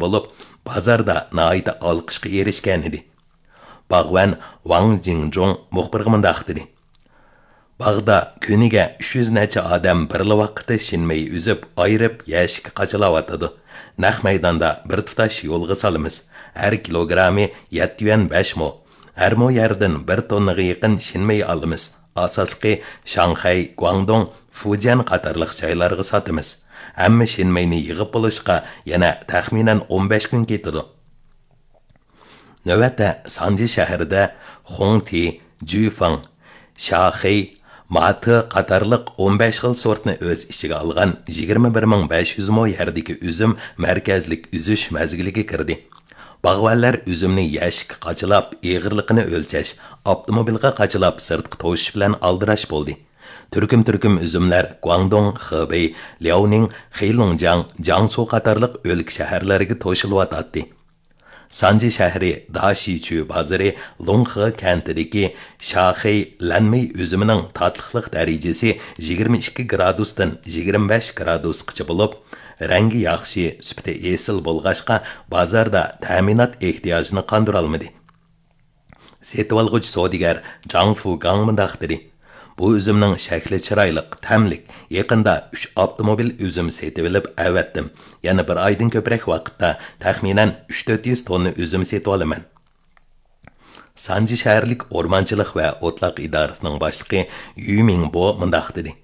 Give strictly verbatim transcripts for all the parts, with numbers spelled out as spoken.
بولۇپ، بازاردا ناھايىتى ئالقىشقا ئېرىشكەن ئىدى. باغۋەن ۋاڭ جىڭجۇڭ مۇخبىرغا مۇنداق دېدى: «باغدا كۈنىگە ئۈچ يۈز نەچچە ئادەم بىرلا ۋاقىتتا شىنمېي ئۈزۈپ، ئايرىپ، يەشىككە قاچىلاۋاتىدۇ. نەق مەيداندا بىر تۇتاش يولغا سالىمىز. ھەر كىلوگرامى يەتتە يۈەن بەش مو. ھەر مو يەردىن بىر توننىغا يېقىن شىنمېي ئالىمىز. ئاساسلىقى شاڭخەي، گۇاڭدۇڭ، فۇجيەن قاتارلىق جايلارغا ساتىمىز. ھەممە شىنمېينى يىغىپ بولۇشقا يەنە تەخمىنەن ئون بەش كۈن كېتىدۇ.» نۆۋەتتە سانجى شەھىرىدە خۇڭتى، جۈفېڭ، شاخېي، ماتې قاتارلىق ئون بەش خىل سورتنى ئۆز ئىچىگە ئالغان يىگىرمە بىر مىڭ بەش يۈز مو يەردىكى ئۈزۈم مەركەزلىك ئۈزۈش مەزگىلىگە كىردى. باغۋەنلەر ئۈزۈمنى يەشىككە قاچىلاپ، ئېغىرلىقىنى ئۆلچەش، ئاپتوموبىلغا قاچىلاپ سىرتقا توشۇش بىلەن ئالدىراش بولدى. تۈركۈم-تۈركۈم ئۈزۈملەر گۇاڭدۇڭ، خېبېي، لياۋنىڭ، خېيلۇڭجياڭ، جياڭسۇ قاتارلىق ئۆلكە شەھەرلەرگە توشۇلۇۋاتاتتى. سانجى شەھىرى داشىچۈ بازىرى لۇڭخې كەنتىدىكى شاخېي لەنمېي ئۈزۈمىنىڭ تاتلىقلىق دەرىجىسى يىگىرمە ئىككى گرادۇستىن يىگىرمە بەش گرادۇسقىچە بولۇپ، رەڭگى ياخشى، سۈپىتى ئېسىل بولغاچقا، بازاردا تەمىنات ئېھتىياجىنى قاندۇرالمىدى. سېتىۋالغۇچى سودىگەر جاڭ فۇگاڭ مۇنداق دېدى: «بۇ ئۈزۈمنىڭ شەكلى چىرايلىق، تەملىك. يېقىندا ئۈچ ئاپتوموبىل ئۈزۈم سېتىۋېلىپ ئەۋەتتىم. يەنە بىر ئايدىن كۆپرەك ۋاقىتتا تەخمىنەن ئۈچ تۆت يۈز توننا ئۈزۈم سېتىۋالىمەن.» سانجى شەھەرلىك ئورمانچىلىق ۋە ئوتلاق ئىدارىسىنىڭ باشلىقى يۈ مىڭبو مۇنداق دېدى: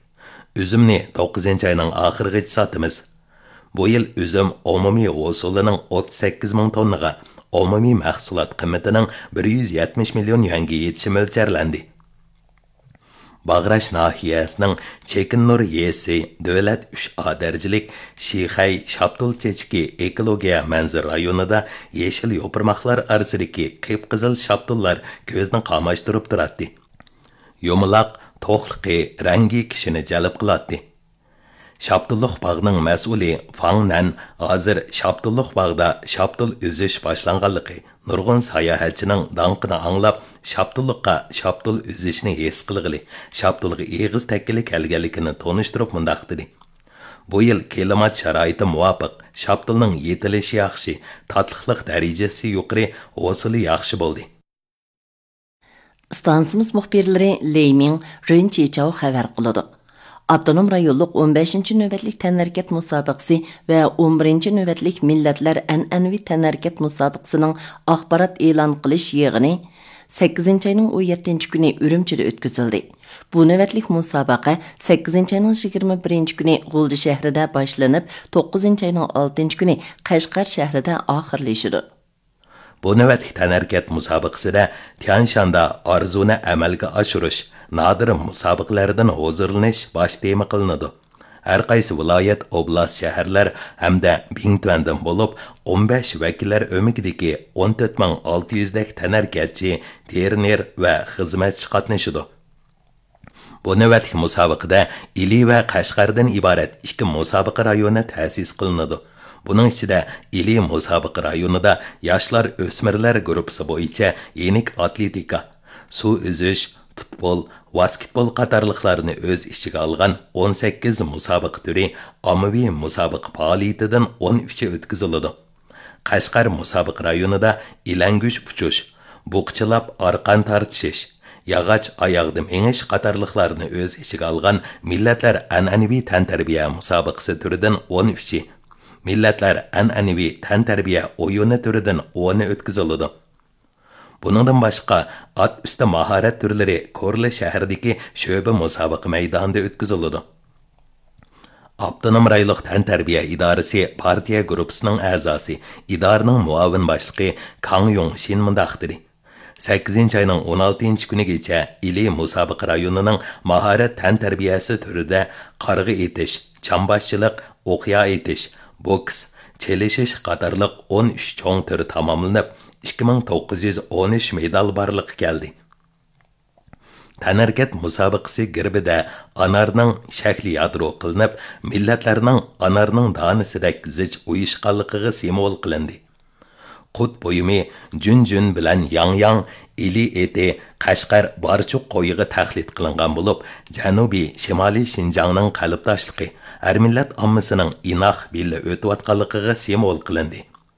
«ئۈزۈمنى توققۇزىنچى ئاينىڭ ئاخىرىغىچە ساتىمىز.» بۇ يىل ئۈزۈم ئومۇمىي ھوسۇلىنىڭ ئوتتۇز سەككىز مىڭ توننىغا، ئومۇمىي مەھسۇلات قىممىتىنىڭ بىر يۈز يەتمىش مىليون يۈەنگە يېتىشى مۆلچەرلەندى. باغراش ناھىيەسىنىڭ چېكىننۇر يېسى دۆلەت ئۈچ ئا دەرىجىلىك شىخەي شاپتۇل چېچىكى ئېكولوگىيە مەنزىرە رايونىدا يېشىل يوپۇرماقلار ئارىسىدىكى قىپقىزىل شاپتۇللار كۆزنى قاماشتۇرۇپ تۇراتتى. يۇمىلاق، توقلۇقى، رەڭگى كىشىنى جەلپ قىلاتتى. شاپتۇللۇق باغنىڭ مەسئۇلى فاڭ نەن ھازىر شاپتۇللۇق باغدا شاپتۇل ئۈزۈش باشلانغانلىقى، نۇرغۇن ساياھەتچىنىڭ داڭقىنى ئاڭلاپ، شاپتۇللۇققا شاپتۇل ئۈزۈشنى ھېس قىلغىلى، شاپتۇلغا ئېغىز تەگكىلى كەلگەنلىكىنى تونۇشتۇرۇپ مۇنداق دېدى: «بۇ يىل كىلىمات شارائىتى مۇۋاپىق، شاپتۇلنىڭ يېتىلىشى ياخشى، تاتلىقلىق دەرىجىسى يۇقىرى، ھوسۇلى ياخشى بولدى.» ئىستانسىمىز مۇخبىرلىرى لېي مىڭ، رېن چىچاۋ خەۋەر قىلىدۇ. ئاپتونوم رايونلۇق ئون بەشىنچى نۆۋەتلىك تەنھەرىكەت مۇسابىقىسى ۋە ئون بىرىنچى نۆۋەتلىك مىللەتلەر ئەنئەنىۋى تەنھەرىكەت مۇسابىقىسىنىڭ ئاخبارات ئېلان قىلىش يىغىنى سەككىزىنچى ئاينىڭ ئون يەتتىنچى كۈنى ئۈرۈمچىدە ئۆتكۈزۈلدى. بۇ نۆۋەتلىك مۇسابىقە سەككىزىنچى ئاينىڭ يىگىرمە بىرىنچى كۈنى غۇلجا شەھىرىدە باشلىنىپ، توققۇزىنچى ئاينىڭ ئالتىنچى كۈنى قەشقەر شەھىرىدە ئاخىرلىشىدۇ. بۇ نۆۋەتلىك تەنھەرىكەت مۇسابىقىسىدە تيەنشاندا ئارزۇنى ئەمەلگە ئاشۇرۇش، نادىر مۇسابىقىلەردىن ھۇزۇرلىنىش باش تېما قىلىنىدۇ. ھەر قايسى ۋىلايەت، ئوبلاست، شەھەرلەر ھەمدە بىڭتۈەندىن بولۇپ، ئون بەش ۋەكىللەر ئۆمىكىدىكى ئون تۆت مىڭ ئالتە يۈزدەك تەنھەرىكەتچى، تېرنېر ۋە خىزمەتچى قاتنىشىدۇ. بۇ نۆۋەتلىك مۇسابىقىدە ئىلى ۋە قەشقەردىن ئىبارەت ئىككى مۇسابىقە رايونى تەسىس قىلىنىدۇ. بۇنىڭ ئىچىدە ئىلى مۇسابىقە رايونىدا ياشلار، ئۆسمۈرلەر گۇرۇپپىسى بويىچە يېنىك ئاتلېتىكا، سۇ ئۈزۈش، پۇتبول، ۋاسكېتبول قاتارلىقلارنى ئۆز ئىچىگە ئالغان ئون سەككىز مۇسابىقە تۈرى ئاممىۋى مۇسابىقە پائالىيىتىدىن ئون ئۈچى ئۆتكۈزۈلىدۇ. قەشقەر مۇسابىقە رايونىدا ئىلەڭگۈچ ئۇچۇش، بۇقىچىلاپ ئارقان تارتىشىش، ياغاچ ئاياغدا مېڭىش قاتارلىقلارنى ئۆز ئىچىگە ئالغان مىللەتلەر ئەنئەنىۋى تەنتەربىيە مۇسابىقىسى تۈرىدىن ئون ئۈچى، مىللەتلەر ئەنئەنىۋى تەنتەربىيە ئويۇنى تۈرىدىن ئونى ئۆتكۈزۈلىدۇ. بۇنىڭدىن باشقا، ئات ئۈستى ماھارەت تۈرلىرى كورلا شەھىرىدىكى شۆبە مۇسابىقە مەيدانىدا ئۆتكۈزۈلىدۇ. ئاپتونوم رايونلۇق تەنتەربىيە ئىدارىسى پارتىيە گۇرۇپپىسىنىڭ ئەزاسى، ئىدارىنىڭ مۇئاۋىن باشلىقى كاڭ يۇڭشىن مۇنداق دېدى: سەككىزىنچى ئاينىڭ ئون ئالتىنچى كۈنىگىچە ئىلى مۇسابىقە رايونىنىڭ ماھارەت تەنتەربىيەسى تۈرىدە قارغا ئېتىش، چامباشچىلىق، ئوقيا ئېتىش، بوكس، چېلىشىش قاتارلىق ئون ئۈچ چوڭ تۈر تاماملىنىپ، ئىككى مىڭ توققۇز يۈز ئون ئۈچ مېدال بارلىققا كەلدى. تەنھەرىكەت مۇسابىقىسى گېربىدە ئانارنىڭ شەكلى يادرو قىلىنىپ، مىللەتلەرنىڭ ئانارنىڭ دانىسىدەك زىچ ئۇيۇشقانلىقىغا سىمۋول قىلىندى. قۇت بۇيۇمى جۈنجۈن بىلەن ياڭياڭ، ئىلى ئېتى، قەشقەر بارچۇق قويىغا تەقلىد قىلىنغان بولۇپ، جەنۇبىي شىمالىي شىنجاڭنىڭ قەلبداشلىقى، ھەر مىللەت ئاممىسىنىڭ ئىناق بىللە ئۆتۈۋاتقانلىقىغا سىمۋول قىلىندى.